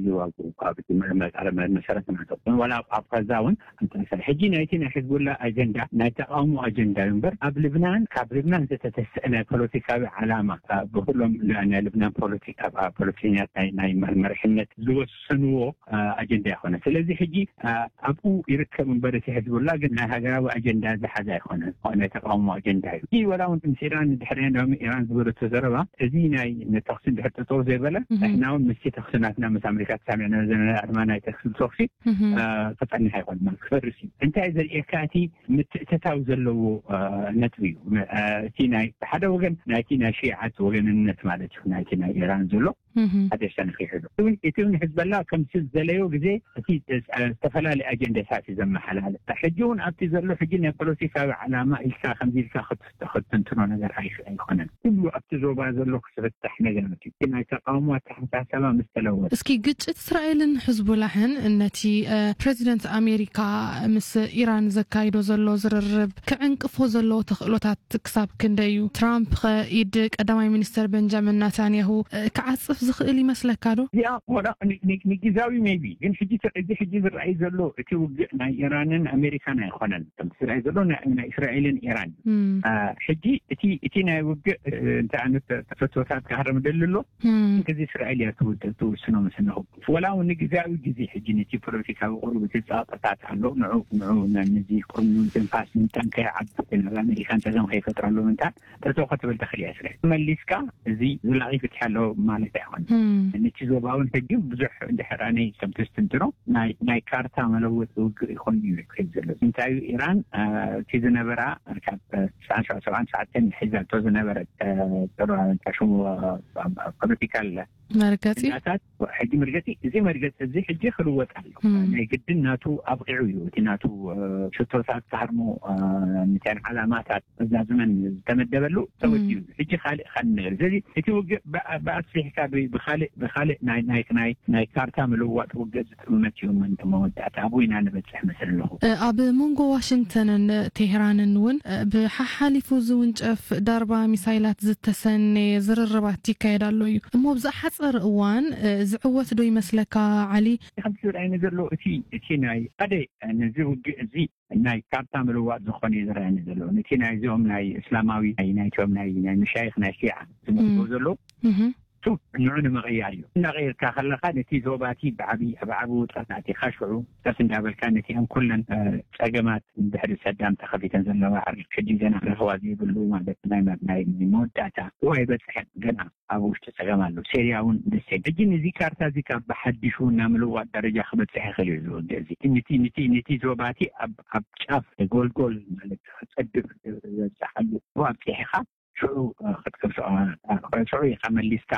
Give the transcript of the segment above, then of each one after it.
ይዋግኡ፣ ካብ እቲ መ-፣ መ-፣ መሰረት ናቶም። ዋላ ኣብ፣ ኣብ ቐዛ እውን ኣንጻር እስራኤል። ሕጂ ናይቲ ናይ ሕዝቡላ ኣጀንዳ ናይ ተቓውሞ ኣጀንዳ እዩ እምበር፣ ኣብ ልብናን፣ ካብ ልብናን ዝተተስአ ናይ ፖለቲካዊ ዓላማ፣ ኣ፣ ብኩሎም ል-፣ ናይ ልብናን ፖለቲካ፣ ኣ፣ ፖለቲከኛት ናይ፣ ናይ መ-፣ መሪሕነት ዝወሰንዎ፣ ኣ፣ ኣጀንዳ ይኾነ። ስለዚ ሕጂ፣ ኣ፣ ኣብኡ ይርከብ እምበር፣ እቲ ሕዝቡላ ግን ናይ ሃገራዊ ኣጀንዳ ዝሓዘ ኣይኮነን። ናይ ተቓውሞ ኣጀንዳ እዩ። እዚ ዋላ እውን ምስ ኢራን ድሕሪ ኢራን ዝበለቶ ዘረባ፣ እዚ ናይ ተኹሲ እንድሕር ጠጠው ዘይበለ፣ እህ። ንሕና እውን ምስቲ ተኹሲ ናትና ምስ ኣሜሪካ ተሳሚዕና ዘለና ኣድማ ናይ ተኹሲ፣ ተኹሲ፣ እህ። አ፣ ክጸንሕ ኣይኮነን፣ ክፈርስ እዩ። እንታይ ዘርእየካ፣ እቲ ምትእትታው ዘለዎ፣ አ፣ ነጥቢ እዩ። አ፣ እቲ ናይ፣ ብሓደ ወገን ናይቲ ናይ ሺዓት ወገንነት ማለት እዩ፣ ናይቲ ናይ ኢራን ዘሎ እህ። ሓደ ሸነኽ ይሕዞ። እቲ እውን፣ እቲ እውን ሕዝበላ ከምቲ ዝደለዮ ግዜ እቲ፣ አ፣ ዝተፈላለየ ኣጀንዳታት እዩ ዘመሓላልፍ። ሕጂ እውን ኣብቲ ዘሎ ሕጂ ናይ ፖለቲካዊ ዓላማ ኢልካ ከምዚ ኢልካ ክት-፣ ክትትንትኖ ነገር ኣይክ-፣ ኣይኮነን። ኩሉ ኣብቲ ዞባ ዘሎ ክፍታሕ ነገራት እዩ። እቲ ናይ ተቃውሞ ኣተሓሳሰባ ምስ ተለወጠ። እስኪ ግጭት እስራኤልን ሕዝቡላህን ነቲ፣ እ፣ ፕሬዚደንት ኣሜሪካ ምስ ኢራን ዘካይዶ ዘሎ ዝርርብ ክዕንቅፎ ዘለዎ ተኽእሎታት ክሳብ ክንደይ እዩ? ትራምፕ ኸ ኢድ ቀዳማይ ሚኒስተር ቤንጃሚን ናታንያሁ፣ እ፣ ክዓጽፍ ዝኽእል ይመስለካ ዶ? እዚኣ ወላ ን-፣ ን-፣ ንግዛዊ ሜቢ፣ ግን ሕጂ ተ-፣ እዚ ሕጂ ዝረኣይ ዘሎ እቲ ውግእ ናይ ኢራንን ኣሜሪካን ኣይኮነን። ከምቲ ዝረኣይ ዘሎ ናይ፣ ናይ እስራኤልን ኢራን። እም። አ፣ ሕጂ እቲ፣ እቲ ናይ ውግእ፣ እ፣ እንታይ ዓይነት ተፈቶታት ክሃረም ደሊ ኣሎ? እም። እዚ እስራኤል እያ ትውድ-፣ ትውስኖ ምስ ኣለኹ። ወላ እውን ንግዝያዊ ግዜ ሕጂ ነቲ ፖለቲካዊ ቁሩብ እቲ ጸቕጥታት ኣሎ። ንዑ፣ ንዑ ነ-፣ ነዚ ቁሩብ ትንፋስ ምንታን ከይዓቢ ናብ ኣሜሪካን ጸገም ከይፈጥረሉ ምንታን ጠጠው ክትብል ትኽእል እያ እስራኤል። መሊስካ እዚ ዘላቒ ፍትሒ ኣሎ ማለት ኣይኮነን። እም። ነቲ ዞባ እውን ሕጂ ብዙሕ እንድሕር ኣነ ከምቲ ዝትንትኖ ናይ፣ ናይ ካርታ መለወጢ ውግእ ይኾን እዩ ዝካየድ ዘሎ። እንታይ እዩ ኢራን፣ አ፣ እቲ ዝነበራ ካብ፣ አ፣ ትስዓን ሸውዓን ትሽዓተን ሒዛቶ ዝነበረት፣ አ፣ ጥሩ፣ እንታይ ሽሙ፣ አ፣ ፖለቲካል መርገጺ? ዳታት ሕጂ መርገጺ፣ እዚ መርገጺ እዚ ሕጂ ክልወጥ ኣሎ። እም። ናይ ግድን ናቱ ኣብቂዑ እዩ። እቲ ናቱ፣ እ፣ ሽቶታት ክሃርሞ፣ እ፣ ንተን ዓላማታት ዘዛዝመን ዝተመደበሉ ተወዲኡ። እም። ሕጂ ካልእ፣ ካልእ ነገር። ስለዚ እቲ ውግእ ብ-፣ ብኣስፊሕካ ብ-፣ ብኻልእ፣ ብኻልእ ናይ፣ ናይ፣ ናይ፣ ናይ ካርታ ምልዋጥ ውግእ ዝጥመት እዩ። መን መወዳእታ ኣብኡ ኢና ንበጽሕ መስል ኣለኹ። እ፣ ኣብ መንጎ ዋሽንግተንን ቴህራንን እውን፣ እ፣ ብሓሓሊፉ ዝውንጨፍ ዳርባ ሚሳይላት ዝተሰነየ ዝርርባት ይካየድ ኣሎ እዩ። እሞ ብዝሓጸረ እዋን፣ እ፣ ዝዕወት ዶ ይመስለካ ዓሊ? ከምቲ ዝረኣየኒ ዘሎ እቲ፣ እቲ ናይ ሓደ፣ እ፣ ነዚ ውግእ እዚ ናይ ካርታ ምልዋጥ ዝኾነ እዩ ዝረኣየኒ ዘሎ። ነቲ ናይዚኦም ናይ እስላማዊ፣ ናይ ናይቶም ናይ፣ ናይ መሻይኽ ናይ ሺዓ ዝመልክዎ እም። ዘለዉ፣ እህ። እሱ ንዑ ንምቕያር እዩ። እናቐየርካ ከለኻ ነቲ ዞባቲ ብዓቢ፣ ኣብ ዓቢ ውጥረት ኣቲኻ ሽዑ ቀስ እንዳበልካ ነቲኣን ኩለን፣ እ፣ ጸገማት እንድሕሪ ሰዳም ተኸፊተን ዘለዋ ዓርኪ ሕጂ ገና ረኸባ ዘይብሉ ማለት ናይ፣ ናይ፣ ናይ መወዳእታ እዋ ኣይበጽሐን። ገና ኣብ ውሽጢ ጸገም ኣሎ። ሴርያ እውን ደሴም። ሕጂ ነዚ ካርታ እዚ ካብ ብሓዲሹ ናብ ምልዋጥ ደረጃ ክበጽሕ ይኽእል እዩ እዚ ውግእ እዚ። ነቲ፣ ነቲ፣ ነቲ ዞባቲ ኣብ፣ ኣብ ጫፍ ጎልጎል ማለት ክጸድፍ ዝበጽሓሉ ኣብጺሕኻ ሽዑ፣ እ፣ ክትከፍሶ፣ እ፣ ሽዑ ኢኻ መሊስካ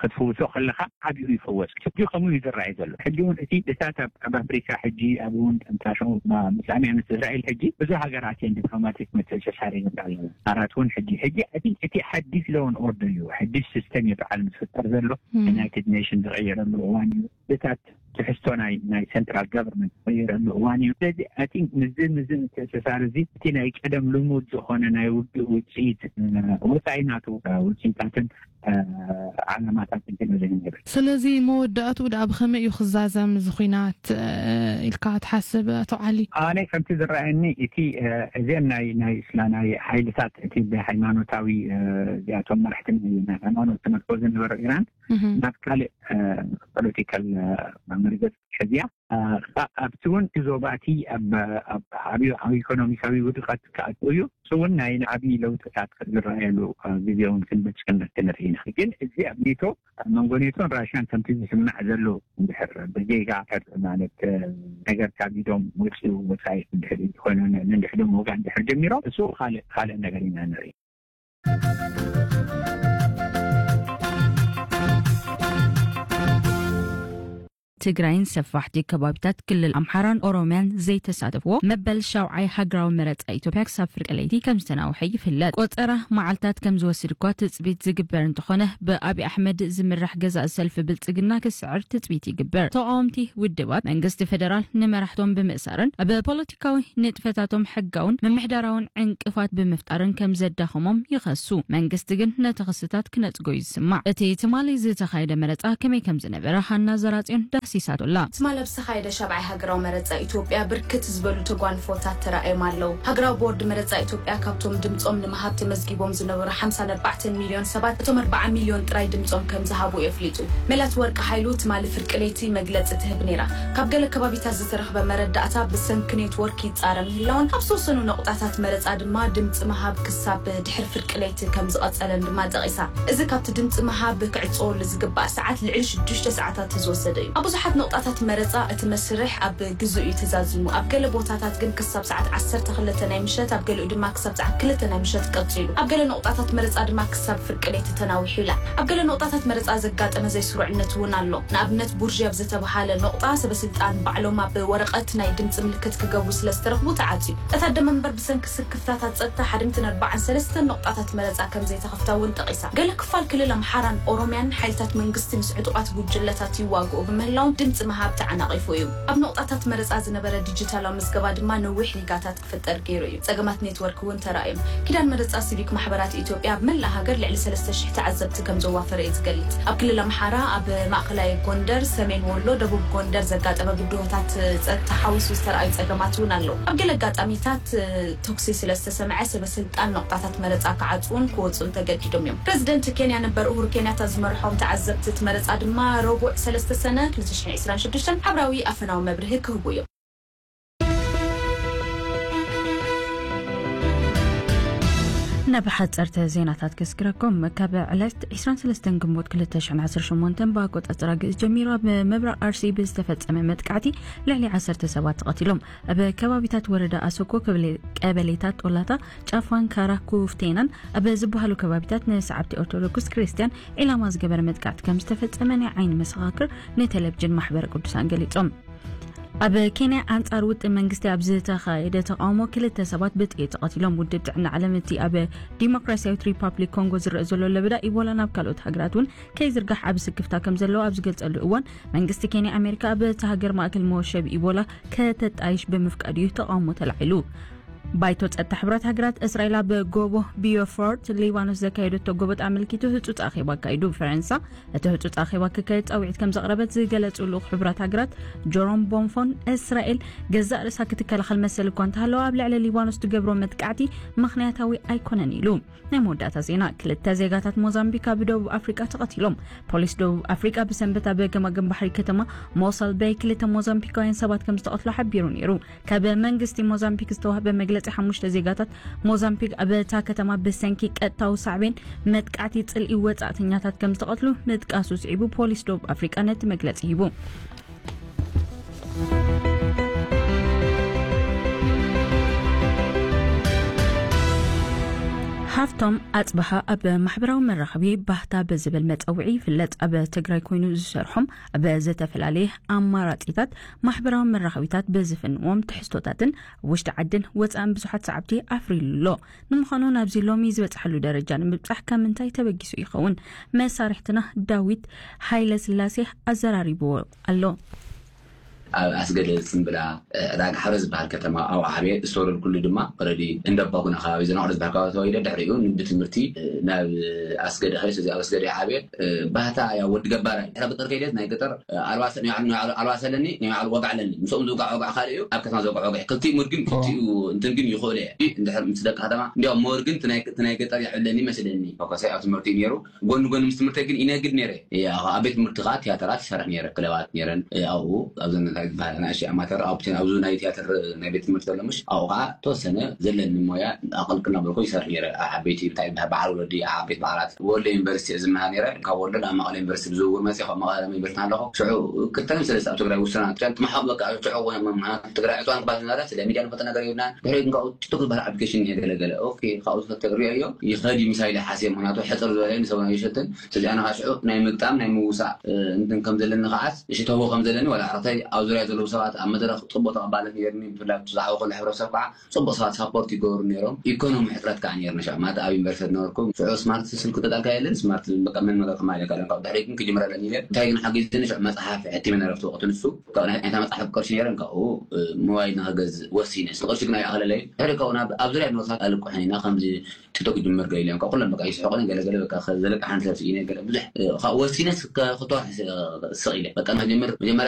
ክትፍውሶ ከለኻ ዓቢኡ ይፈወስ። ሕጂ ከምኡ እዩ ዝረኣይ ዘሎ። ሕጂ እውን እቲ እታት ኣብ፣ ኣብ ኣፍሪካ ሕጂ ኣብ እውን ጠምጣሾ፣ ማ-፣ ምስ ኣሜ-፣ ምስ እስራኤል ሕጂ ብዙ ሃገራት እየን ዲፕሎማቲክ ምትእስሳር ይገብራ ኣለዋ። ኣራት እውን ሕጂ፣ ሕጂ እቲ፣ እቲ ሓዲስ ሎውን ኦርደር እዩ። ሓዲስ ሲስተም እዩ በዓል ዝፍጠር ዘሎ። እም። ዩናይትድ ኔሽን ዝቐየረሉ እዋን እዩ። እታት ትሕዝቶ ናይ፣ ናይ ሴንትራል ጋቨርንመንት ዝቐየረሉ እዋን እዩ። ስለዚ፣ ኣይ ቲንክ፣ ምስዚ፣ ምስዚ ምትእስሳር እዚ፣ እቲ ናይ ቀደም ልሙድ ዝኾነ ናይ ውግእ ውፅኢት፣ እ፣ ወፃኢ ናቱ፣ እ፣ ውፅኢታትን፣ እ፣ ዓላማታትን ክንርኢ ንብል። ስለዚ፣ መወዳእትኡ ደኣ ብኸመይ እዩ ክዛዘም እዚ ኹናት፣ እ፣ ኢልካ ትሓስብ፣ ኣቶ ዓሊ? ኣነ ከምቲ ዝረኣየኒ፣ እቲ፣ እ፣ እዚአን ናይ፣ ናይ እስላ-፣ ናይ ሓይልታት፣ እቲ ብሃይማኖታዊ፣ እ፣ እዚኣቶም መራሕቲ ናይ ሃይማኖት ትመርኮ ዝነበረ ኢራን፣ እህ። ናብ ካልእ፣ እ፣ ፖለቲካል፣ እ፣ መርገጽ ሕዝያ፣ እ፣ ከኣ ኣብቲ እውን እቲ ዞባ እቲ ኣብ፣ ኣብ ዓብዩ፣ ዓብዩ ኢኮኖሚካዊ ውድቀት ክኣቱ እዩ። እሱ እውን ናይ ዓብዪ ለውጥታት ዝረኣየሉ፣ እ፣ ግዜ እውን ክንበጽሕ ክንርኢ ኢና። ግን እዚ ኣብ ኔቶ፣ ኣብ መንጎ ኔቶን ራሽያን ከምቲ ዝስማዕ ዘሎ እንድሕር ብጌጋ ማለት፣ እ፣ ነገር ካብ ኢዶም ወፂኡ ወፃኢ እንድሕር ኮይኑ ን-፣ ንድሕዶም ወጋ እንድሕር ጀሚሮም እሱ ካልእ፣ ካልእ ነገር ኢና ንርኢ። ትግራይን ሰፋሕቲ ከባቢታት ክልል ኣምሓራን ኦሮሚያን ዘይተሳተፍዎ መበል ሻውዓይ ሃገራዊ መረፃ ኢትዮጵያ ክሳብ ፍርቂ ለይቲ ከም ዝተናውሐ ይፍለጥ። ቆፀራ መዓልታት ከም ዝወስድ እኳ ትፅቢት ዝግበር እንተኾነ፣ ብኣብይ ኣሕመድ ዝምራሕ ገዛኢ ሰልፊ ብልፅግና ክስዕር ትፅቢት ይግበር። ተቃወምቲ ውድባት መንግስቲ ፌደራል ንመራሕቶም ብምእሳርን ኣብ ፖለቲካዊ ንጥፈታቶም ሕጋውን ምምሕዳራውን ዕንቅፋት ብምፍጣርን ከም ዘዳኸሞም ይኸሱ። መንግስቲ ግን ነቲ ክስታት ክነጽጎ እዩ ዝስማዕ። እቲ ትማሊ ዝተኻየደ መረጻ ከመይ ከም ዝነበረ ሃና ዘራጽዮን ዳህሲሳቶ ኣላ። ትማሊ ኣብ ዝተኻየደ ሻብዓይ ሃገራዊ መረጻ ኢትዮጵያ ብርክት ዝበሉ ተጓንፎታት ተራእዮም ኣለዉ። ሃገራዊ ቦርድ መረጻ ኢትዮጵያ ካብቶም ድምጾም ንምሃብ ተመዝጊቦም ዝነበሩ ሓምሳ ነጥቢ ኣርባዕተ ሚልዮን ሰባት እቶም ኣርብዓ ሚልዮን ጥራይ ድምጾም ከም ዝሃቡ የፍሊጡ። መላት ወርቂ ሓይሉ ትማሊ ፍርቂ ለይቲ መግለጺ ትህብ ነይራ። ካብ ገለ ከባቢታት ዝተረኽበ መረዳእታ ብሰንኪ ኔትወርክ ይጻረ ምህላውን ኣብ ዝተወሰኑ ነቑጣታት መረጻ ድማ ድምጺ ምሃብ ክሳብ ድሕሪ ፍርቂ ለይቲ ከም ዝቐጸለን ድማ ጠቒሳ። እዚ ካብቲ ድምጺ ምሃብ ክዕጸወሉ ዝግባእ ሰዓት ልዕሊ ሽዱሽተ ሰዓታት ዝወሰደ እዩ። ኣብ ብዙሓት ነቑጣታት መረጻ እቲ መስርሕ ኣብ ግዜኡ እዩ ተዛዚሙ። ኣብ ገለ ቦታታት ግን ክሳብ ሰዓት ዓሰርተ ክልተ ናይ ምሸት፣ ኣብ ገሊኡ ድማ ክሳብ ሰዓት ክልተ ናይ ምሸት ቀጺሉ። ኣብ ገለ ነቑጣታት መረጻ ድማ ክሳብ ፍርቂ ለይቲ ተናዊሑ ይላዕ። ኣብ ገለ ነቑጣታት መረጻ ዘጋጠመ ዘይስሩዕነት እውን ኣሎ። ንኣብነት ቡርዥ ኣብ ዝተብሃለ ነቑጣ ሰበስልጣን ባዕሎም ኣብ ወረቐት ናይ ድምጺ ምልክት ክገብሩ ስለ ዝተረኽቡ ተዓጽዩ። እታ ኣደመ እምበር ብሰንኪ ስክፍታታት ጸጥታ ሓድምቲ ነርባዓን ሰለስተን ነቑጣታት መረጻ ከም ዘይተኸፍታ እውን ጠቒሳ። ገለ ክፋል ክልል ኣምሓራን ኦሮሚያን ሓይልታት መንግስቲ ምስ ዕጡቓት ጉጅለታት ይዋግኡ ብምህላዎም ድምጺ ምሃብ ተዓናቒፉ እዩ። ኣብ ነቑጣታት መረጻ ዝነበረ ዲጂታላዊ ምዝገባ ድማ ነዊሕ ሪጋታት ክፍጠር ገይሩ እዩ። ጸገማት ኔትወርክ እውን ተራእዮም። ኪዳን መረጻ ሲቪክ ማሕበራት ኢትዮጵያ ኣብ መላእ ሃገር ልዕሊ ሰለስተ ሽሕ ተዓዘብቲ ከም ዘዋፈረ እዩ ዝገልጽ። ኣብ ክልል ኣምሓራ፣ ኣብ ማእከላይ ጎንደር፣ ሰሜን ወሎ፣ ደቡብ ጎንደር ዘጋጠመ ብድሆታት ጸጥታ ሓዊሱ ዝተራእዩ ጸገማት እውን ኣለዉ። ኣብ ገለ ኣጋጣሚታት፣ እ፣ ተኩሲ ስለ ዝተሰምዐ፣ ሰበ ስልጣን ነቑጣታት መረጻ ክዓጽዉን ክወጹን ተገዲዶም እዮም። ፕረዚደንት ኬንያ ነበር ኡሁሩ ኬንያታ ዝመርሖም ተዓዘብቲ እቲ መረጻ ድማ ረቡዕ ሰለስተ ሰነ ክልተ ሽሕን ዕስራን ሽዱሽተን ሓብራዊ ኣፈናዊ መብርሂ ክህቡ እዮም። ናብ ሓጸርቲ ዜናታት ከስግረኩም። ካብ ዕለት ዕስራን ሰለስተን ግንቦት ክልተ ሽሕን ዓሰርተ ሸሞንተን ብኣቆጻጽራ ግእዝ ጀሚሩ ኣብ ምብራቕ ኣርሲ ብዝተፈጸመ መጥቃዕቲ ልዕሊ ዓሰርተ ሰባት ተቐቲሎም። ኣብ ከባቢታት ወረዳ ኣሰኮ፣ ከበሌ-፣ ቀበሌታት ጦላታ፣ ጫፋን፣ ካራ፣ ኩፍቴናን ኣብ ዝበሃሉ ከባቢታት ንሰዓብቲ ኦርቶዶክስ ክርስቲያን ዒላማ ዝገበረ መጥቃዕቲ ከም ዝተፈጸመ ናይ ዓይኒ መሰኻክር ንቴሌቪዥን ማሕበረ ቅዱሳን ገሊጾም። ኣብ ኬንያ ኣንጻር ውጥን መንግስቲ ኣብ ዝተኻየደ ተቃውሞ ክልተ ሰባት ብጥይት ተቐቲሎም። ውድብ ጥዕና ዓለም እቲ ኣብ ዲሞክራሲያዊት ሪፓብሊክ ኮንጎ ዝረአ ዘሎ ለበዳ ኢቦላ ናብ ካልኦት ሃገራት እውን ከይዝርጋሕ ዓቢ ስክፍታ ከም ዘለዎ ኣብ ዝገልጸሉ እዋን፣ መንግስቲ ኬንያ ኣሜሪካ ኣብ እታ ሃገር ማእከል መወሸቢ ኢቦላ ከተጣይሽ ብምፍቃዱ እዩ ተቃውሞ ተላዒሉ። ባይቶ ጸጥታ ሕብረት ሃገራት እስራኤል ኣብ ጎቦ ቢዮፎርት ሊባኖስ ዘካየደቶ ጎበጥ ኣመልኪቱ ህጹጽ ኣኼባ ኣካይዱ። ፈረንሳ እቲ ህጹጽ ኣኼባ ክካየድ ጻውዒት ከም ዘቕረበት ዝገለጹ ልኡኽ ሕብራት ሃገራት ጆሮም ቦንፎን፣ እስራኤል ገዛእ ርእሳ ክትከላኸል መሰል እኳ እንተሃለዋ፣ ኣብ ልዕሊ ሊባኖስ ትገብሮ መጥቃዕቲ ምኽንያታዊ ኣይኮነን ኢሉ። ናይ መወዳእታ ዜና፣ ክልተ ዜጋታት ሞዛምቢክ ኣብ ደቡብ ኣፍሪቃ ተቐቲሎም። ፖሊስ ደቡብ ኣፍሪቃ ብሰንበት ኣብ ገማግም ባሕሪ ከተማ ሞሰል ቤይ ክልተ ሞዛምቢካውያን ሰባት ከም ዝተቐትሉ ሓቢሩ ነይሩ። ካብ መንግስቲ ሞዛምቢክ ዝተዋህበ መግለጺ፣ ሓሙሽተ ዜጋታት ሞዛምቢክ ኣብ እታ ከተማ ብሰንኪ ቀጥታዊ ሳዕቤን መጥቃዕቲ ጽልኢ ወጻእተኛታት ከም ዝተቐትሉ ምጥቃሱ ስዒቡ፣ ፖሊስ ደቡብ ኣፍሪቃ ነቲ መግለጺ ሂቡ። ሃፍቶም ኣጽብሃ ኣብ ማሕበራዊ መራኸቢ ባህታ ብዝብል መጸውዒ ይፍለጥ። ኣብ ትግራይ ኮይኑ ዝሰርሖም ኣብ ዝተፈላለየ ኣማራጺታት ማሕበራዊ መራኸቢታት ብዝፍንዎም ትሕዝቶታትን ውሽጢ ዓድን ወጻእን ብዙሓት ሰዓብቲ ኣፍሪሉ ኣሎ። ንምዃኑ ናብዚ ሎሚ ዝበጽሓሉ ደረጃ ንምብጻሕ ካብ ምንታይ ተበጊሱ ይኸውን? መሳርሕትና ዳዊት ሃይለ ስላሴ ኣዘራሪብዎ ኣሎ። ኣብ ኣስገደ ጽምብላ፣ እ፣ ዕዳጋ ሓረ ዝበሃል ከተማ ኣብኡ ዓብየ። ዝተወለድኩሉ ድማ ኦረዲ እንዳ ባጉና ከባቢ፣ ዘናቑረ ዝበሃል ከባቢ ተወሊደ። ድሕሪኡ ብትምህርቲ፣ እ፣ ናብ ኣስገደ ከይደ። ስለዚ ኣብ ኣስገደ ዓብየ። እ፣ ባህታ ያው ወዲ ገባር። ድሕሪ ገጠር ከይደ፣ ናይ ገጠር፣ እ፣ ኣልባሰ-፣ ናይ ባዕሉ፣ ናይ ባዕሉ ኣልባሰ ኣለኒ፣ ናይ ባዕሉ ወግዒ ኣለኒ። ምስኦም ዝውጋዕ ወግዒ ካልእ እዩ፣ ኣብ ከተማ ዝውጋዕ ወግዒ። ክልቲኡ ሙድ ግን፣ ክልቲኡ እንትን ግን ይኽእሉ እየ። እንድሕር ምስ ደቂ ከተማ፣ እንዲያውም ሞር ግን እቲ ናይ፣ እቲ ናይ ገጠር የዕብለኒ ይመስለኒ። ፎከሰይ ኣብ ትምህርቲ እዩ ነይሩ። ጎኒ ጎኒ ምስ ትምህርተይ ግን ይነግድ ነይረ። ያ፣ ኣብ ቤት ትምህርቲ ከዓ ቲያትራት ይሰርሕ ነይረ፣ ክለባት ነይረን። እ፣ ኣብኡ፣ ኣብዘን ዝበሃል ኣናእሽተይ ኣማተር ኣብቲ ኣብዚ ናይ ቲያትር ናይ ቤት ትምህርቲ ዘሎ ምሽ ኣብኡ ከዓ ተወሰነ ዘለኒ ሞያ ኣቐልቅል እናበልኩ ይሰርሕ ነይረ። ኣብ ዓበይቲ እንታይ ይበሃል በዓል ወለዲ ኣብ ዓበይቲ በዓላት ወሎ ዩኒቨርሲቲ እየ ዝመሃር ነይረ። ካብ ወሎ ናብ መቐለ ዩኒቨርሲቲ ብዝውውር መፅእ ካብ መቐለ ዩኒቨርሲቲ ኣለኹ። ሽዑ ክልተን ሰለስተ ኣብ ትግራይ ውሱናት ሸን ትመሓቕ በቃ ሽዑ ትግራይ ዕፅዋን ክባል ዝነበረ ስለ ሚድያ ንፈልጦ ነገር የብልናን። ድሕሪ ግን ካብኡ ጭጡክ ዝበሃል ኣፕሊኬሽን እየ ገለገለ ኦኬ ካብኡ ዝፈተግሪዮ እዮም ይኸዲ ምሳይ ሓስየ ምክንያቱ ሕፅር ዝበለ ንሰብና ይሸትን ስለዚ ኣነ ከዓ ሽዑ ናይ ምግጣም ናይ ምውሳእ እንትን ከም ዘለኒ ከዓስ እሺ ተህቦ ከም ዘለኒ ዋላ ዕረፍተይ ኣብ ዙርያ ዘለዉ ሰባት ኣብ መድረክ ፅቡቅ ተቐባልነት ነርኒ ብፍላይ ዝዓበ ከሎ ሕብረተሰብ ከዓ ፅቡቅ ሰባት ሳፖርት ይገብሩ ነይሮም። ኢኮኖሚ ሕፅረት ከዓ ነይርና ሽዑ ማለት ኣብ ዩኒቨርሲቲ ነበርኩ። ሽዑ ስማርት ስልክ ተጣልካ የለን ስማርት በቃ መን መገር ከማለካ ካብኡ ድሕሪ ግን ክጅምር ኣለኒ ኢለ እንታይ ግን ሓጊዝኒ ሽዑ መፅሓፍ ሕቲመ ነረፍቲ ወቅቲ ንሱ ካብኡ ናይ ዓይነታ መፅሓፍ ቅርሺ ነይረን ካብኡ ሞባይል ንክገዝእ ወሲነ እቲ ቅርሺ ግን ኣይኣኽለለይ። ድሕሪ ካብኡ ናብ ኣብ ዙርያ ንወሳት ኣልቁሕን ኢና ከምዚ ቲክቶክ ክጅምር ገለ ኢሎም ካብ ኩሎም በቃ ይስሕቁኒ ገለ ገለ በቃ ከ- ዘለቅሓኒ ሰብ ስኢነ ገለ ብዙሕ እ፣ ካብ ወሲነ ስ- ከ- ክትወርሕ ስ- ስቕ ኢለ በቃ ንክጅምር መጀመርያ